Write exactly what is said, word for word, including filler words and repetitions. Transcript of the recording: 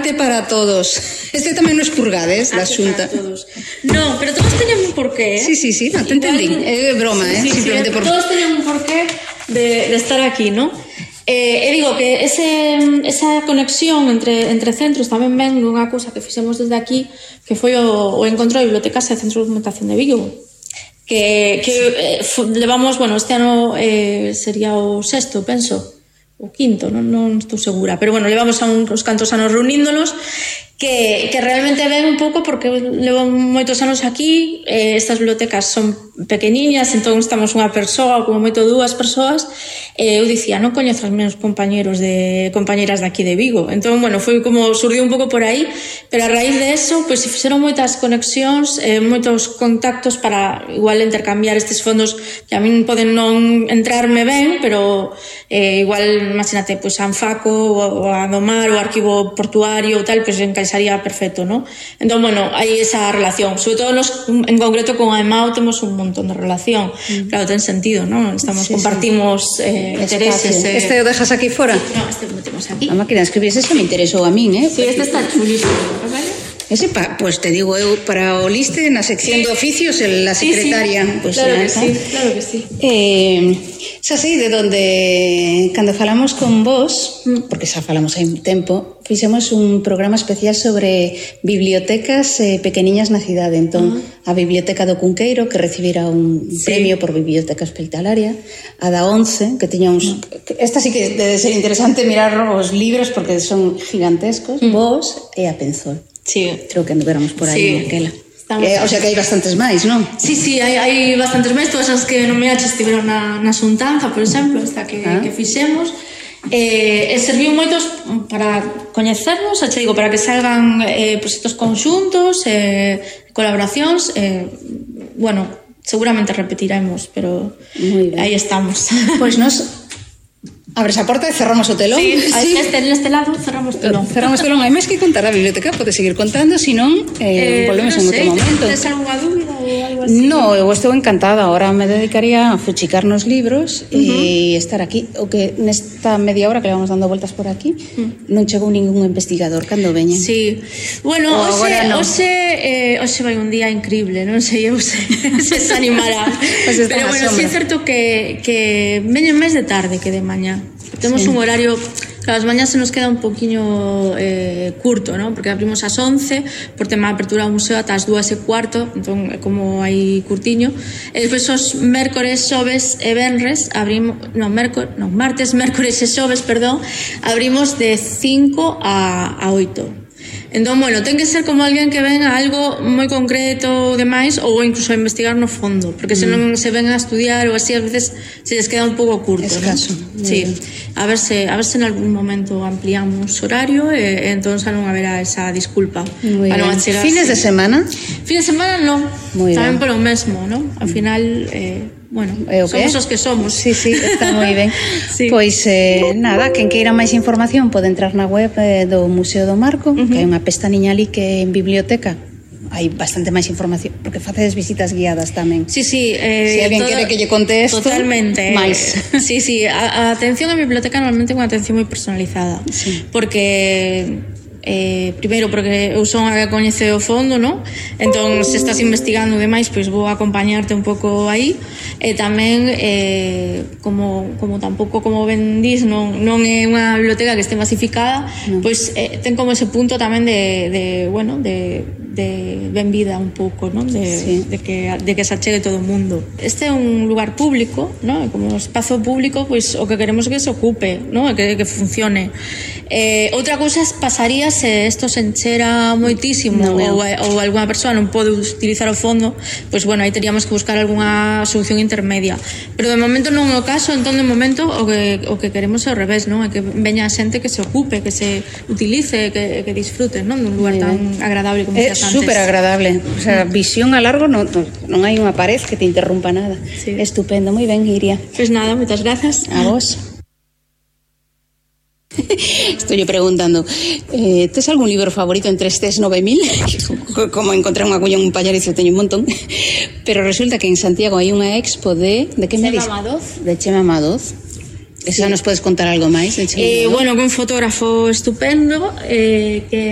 arte para todos. Este tamén nos purgades da Xunta. Non, pero todos teñen un porqué, eh? Sí, sí, sí, no, te entendí. É broma, eh? Sí, sí, Simplemente sí, por... todos teñen un porqué de, de estar aquí, ¿no? Eh, e digo que ese, esa conexión entre, entre centros tamén ven unha cousa que fixemos desde aquí, que foi o, o encontro de bibliotecas e centros de documentación de Vigo, que, que eh, levamos, bueno, este ano eh, sería o sexto, penso, o quinto, non, non estou segura, pero bueno, levamos a uns cantos anos reuníndonos, que, que realmente ven un pouco porque levo moitos anos aquí, eh, estas bibliotecas son pequeniñas, entón estamos unha persoa, como moito dúas persoas, e eu dicía, non coñezo os meus compañeros de compañeras de aquí de Vigo, entón, bueno, foi como surdiu un pouco por aí, pero a raíz de eso, pois pues, se fixeron moitas conexións, eh, moitos contactos para igual intercambiar estes fondos que a min poden non entrarme ben, pero eh, igual, imagínate, pois pues, a Anfaco, ou a Domar, o arquivo portuario, ou tal, pois pues, encaixaría perfecto, ¿no? Entón, bueno, hai esa relación, sobre todo nos, en concreto con a EMAO temos un montón de relación, mm. claro, ten sentido, ¿no? Estamos, sí, sí. compartimos eh, intereses. Eh... Este o dejas aquí fora? No, este lo metemos aquí. A máquina de escribir, ese me interesou a min, eh? Sí, este está chulísimo, ¿vale? Ese, pa, pues te digo eu, para o liste na sección de oficios, la secretaria. Sí, sí. Pues, claro ya, que sí, claro que sí. Eh, xa sei de donde, cando falamos con vos, mm. porque xa falamos hai un tempo, fixemos un programa especial sobre bibliotecas eh, pequeniñas na cidade. Entón, uh-huh. a Biblioteca do Cunqueiro, que recibira un sí. premio por biblioteca hospitalaria, a da once, que tiña uns... Uh-huh. Esta sí que debe ser interesante mirar os libros, porque son gigantescos, uh-huh. vos e a Penzol. Sí. Creo que anduvéramos por aí, sí. aquela. Que, o sea que hai bastantes máis, non? Sí, sí, hai, hai bastantes máis. Todas as que non me aches estiveron na, na Xuntanza, por exemplo, esta que, ah. que fixemos. Eh, e serviu moitos para coñecernos, xa digo, para que salgan eh, proxectos conxuntos, eh, colaboracións. Eh, bueno, seguramente repetiremos, pero aí estamos. Pois pues nos... Abres a porta e cerramos o telón. Sí, sí. Neste, neste lado cerramos o telón. Cerramos o telón. Hai máis que contar a biblioteca, pode seguir contando, senón eh, eh, volvemos no en outro momento. Tens algunha dúbida ou algo así? No, eu estou encantada. Ahora me dedicaría a fuchicar nos libros uh-huh. e estar aquí. O que nesta media hora que le vamos dando voltas por aquí uh-huh. non chegou ningún investigador cando veñen. Sí. Bueno, o hoxe, no. hoxe, eh, hoxe vai un día increíble, non sei eu se, se se animará. Pues pero bueno, sí é certo que, que veñen máis de tarde que de mañá. Temos sí. un horario, claro, as mañás se nos queda un poquinho eh, curto, ¿no? Porque abrimos ás once, por tema de apertura do museo ata as dúas e cuarto, entón é como hai curtiño. E despois os mércores, xoves e venres abrimos, non, mércor, non, martes, mércores e xoves, perdón, abrimos de cinco a oito. Entón, bueno, ten que ser como alguén que ven a algo moi concreto demais ou incluso a investigar no fondo, porque se non se ven a estudiar ou así, a veces se les queda un pouco curto, escaso, ¿no? Sí, a ver se a ver se en algún momento ampliamos horario e, e entón xa non haberá esa disculpa para non achegarse. Fines de semana? Fines de semana non, tamén polo mesmo, ¿no? Al final eh, bueno, somos os que somos. Sí, sí, está moi ben. Sí. Pois, eh, nada, quen queira máis información pode entrar na web eh, do Museo do Marco, uh-huh. que hai unha pestañiña ali que en biblioteca hai bastante máis información, porque facedes visitas guiadas tamén. Sí, sí. Eh, Se alguén quere que lle conte esto, totalmente. máis. Sí, sí, a, a atención a biblioteca normalmente é unha atención moi personalizada, sí. porque... Eh, primeiro porque eu son a que coñece o fondo, ¿no? Entón se estás investigando demais, pois vou acompañarte un pouco aí e tamén eh, como, como tampouco como ben dis non, non é unha biblioteca que este masificada, no. Pois eh, ten como ese punto tamén de, de bueno, de, de ben vida un pouco, ¿no? De, sí. de, que, de que se achegue todo o mundo. Este é un lugar público, ¿no? Como espazo público, pois o que queremos é que se ocupe, ¿no? Que, que funcione. Eh, outra cousa pasaría se isto se enchera moitísimo no, ou, ou alguna persoa non pode utilizar o fondo, pois bueno, aí teríamos que buscar algunha solución intermedia, pero de momento non é o caso. Entón de momento o que, o que queremos é ao revés, non? É que veña a xente que se ocupe, que se utilice, que, que disfrute, non? Dun lugar tan agradable como é super agradable, o sea, visión a largo non, non hai unha pared que te interrumpa nada. Sí. Estupendo, moi ben, Iria. Pois nada, moitas grazas. A vos. Estoy preguntando, eh, ¿tes algún libro favorito entre estes nove mil? Como encontrar unha agulla en un pallarizo, teño un montón. Pero resulta que en Santiago hai unha expo de... de que me dis? Chema Madoz. De Chema Madoz. Esa sí. Nos podes contar algo máis de Chema eh, Madoz? Bueno, que un fotógrafo estupendo, eh, que